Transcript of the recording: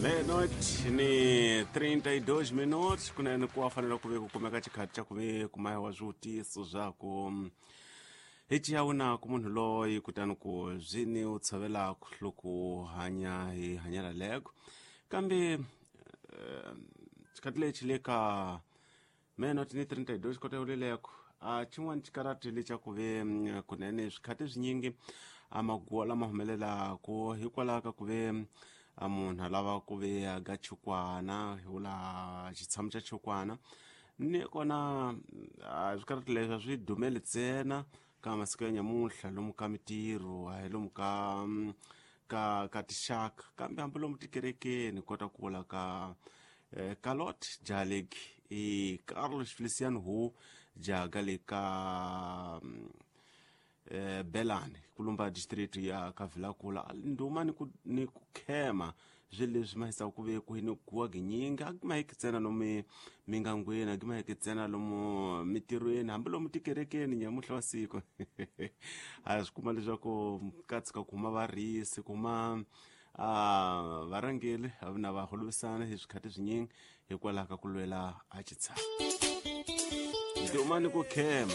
Meia-noite ni 32 minutos, kunene ku fanele ku ve ku kumeka xikhathi xa ku ve ku mayiwa swivutiso swa ku hi ciya ku munhu loyi, kutani ku byi ni u tshovelaka loko hanya hi hanyela leko. Kambe xikhathi lexi le ka meia-noite ni 32 kota yoleleko, a xin'wana xikarati lexa ku ve kunene swikhathi swinyingi a maguwa lama humelelaku hikwalaho ka ku ve a munhu a lava ku ve aga chukwana, hi vula xitshamo xa chukwana. Ni kona a swikarati leswi a swi dumeli ntsena ka masiku ya nyamuntlha lomu ka mitirho, a hi lomu ka tixaka, kambe hambi lomu tikerekeni. Kota ku vula ka Kalot Jalek i Carlos Feliciano hu jaga le ka Belani kulumba district ya Kavilakula, nduma ni ku khema swilo leswi ma hisaka ku ve ku ni guwa ginyingi. A ma hiki ntsena lomu mingangweni, a ma hiki ntsena lomu mitirhweni, hambi lomu tikerekeni. Nyamuhla wa siku a swi kuma leswaku ka tshuka ku huma varisi, ku huma a varhangeli na va holovisana hi swikhathi swinyingi hikwalaho ka ku lwela a xitshamo. Nduma ni ku khema.